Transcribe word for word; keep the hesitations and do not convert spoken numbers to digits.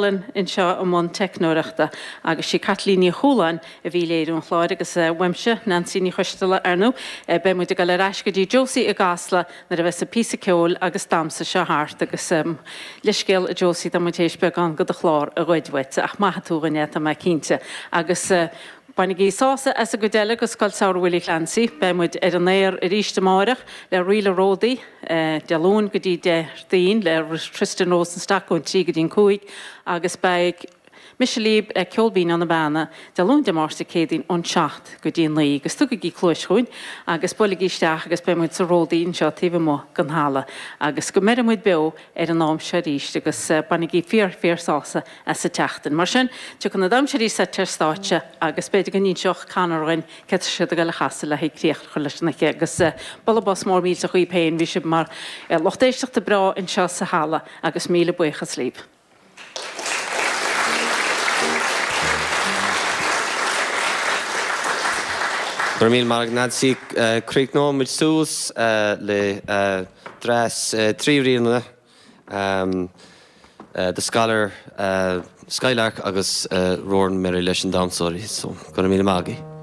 Cullen anseo i mbun teicneoireachta agus sí Caitlín Ní Chualáin a bhí ag léiriú an chláir agus uaimse Nancy Ní Choisteala ar ndóigh beidh muid ag dul ar ais go dtí Josie i gCasla nuair a bheas an píosa ceoil agus damhsa seo thart agus leithscéal a Josie tá muid théis beagán de do chlár a ghoid uait ach maithfidh tú dhúinn é tá mé cinnte agus Bainigí sásamh as an gcuid eile de Scoil Samhraidh Willie Clancy, beidh muid ar an aer arís amárach le Ríle Ródaí, Dé Luain go dtí Déardaoin le Tristan Rosenstock ón trí go dtí an cúig agus beidh mise libh le Ceol Binn ó na Beanna, Dé Luain Dé Máirt Dé Céadaoin ón seacht go dtí a naoi agus tugaigí cluais chugainn agus buailigí isteach agus beidh muid sa Ródaí anseo taobh amuigh den halla agus go mbeire muid beo ar an am seo arís agus bainigí fíor fíor sásamh as an tseachtain. Mar sin, tiocfaidh na damhsóirí suite ar stáitse agus b'fhéidir go n-inseodh Conor dhúinn céard tá siad ag dul a chasadh le haghaidh críoch a chur leis an oíche agus bualadh bos mór millteach dhaoibh féin, bhí sibh mar lucht éisteachta breá anseo sa halla agus míle buíochas libh. Go raibh míle maith agat Nancy. Críochnóidh muid suas le dreas trí ríleanna. The Scholar, Skylark agus Roaring Merry leis na damhsóirí. So, go raibh míle maith agaibh.